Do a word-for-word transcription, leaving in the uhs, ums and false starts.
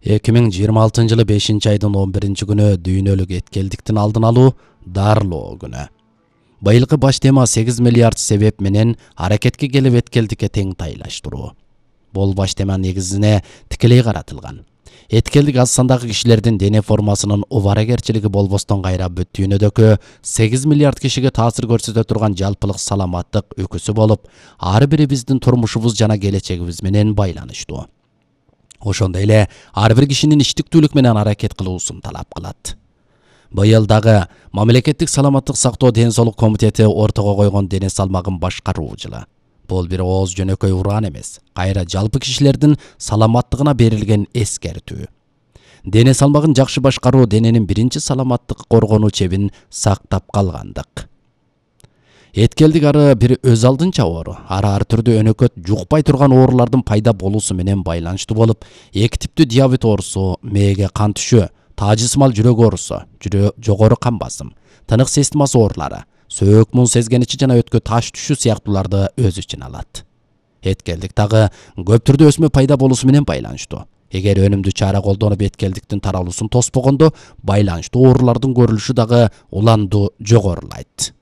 эки миң жыйырма алтынчы жылы бешинчи айдын он биринчи күнү дүйнөлүк эткелдиктин алдын алуу дарылоо күнү. Быйылкы баш тема сегиз миллиард себеп менен аракетке келип эткелдикке тең тайлаштыруу. Бул баш тема негизине тикелей каратылган. Эткелдик аз сандагы кишилердин дене формасынын убарагерчилиги болбостон кайра бүт дүйнөдөгү сегиз миллиард кишиге таасир көрсөтө турган жалпылык саламаттык өкүсү болуп, ар бири биздин турмушубуз жана келечегибиз менен байланыштуу. Ошондой эле ар бир кишинин иштиктүүлүк менен аракет кылуусун талап кылат. Быйыл дагы мамлекеттик саламаттык сактоо ден соолук комитети ортого койгон дене салмагын башкаруу жылы. Бул бир ооз жөнөкөй уран эмес, кайра жалпы кишилердин саламаттыгына берилген эскертүү. Дене салмагын жакшы башкаруу дененин биринчи саламаттык коргонуу чебин сактап калгандык. Эткелдик ары бир өз алдынча оору, ары ар түрдүү өнөкөт жукпай турган оорулардын пайда болуусу менен байланыштуу болуп, эки типтүү диабет оорусу, мээге кан түшүү, таажысмал жүрөк оорусу, жогору кан басым, тынык системасы оорулары, сөөк мун сезгеничи жана өткө таш түшүү сыяктууларды өз ичине алат. Эткелдик дагы көп түрдүү өсмө пайда болуусу менен байланыштуу. Эгер өнүмдүү чара колдонуп эткелдиктин таралуусун тоспогондо, байланыштуу оорулардын көрүлүшү дагы уланду жогорулайт.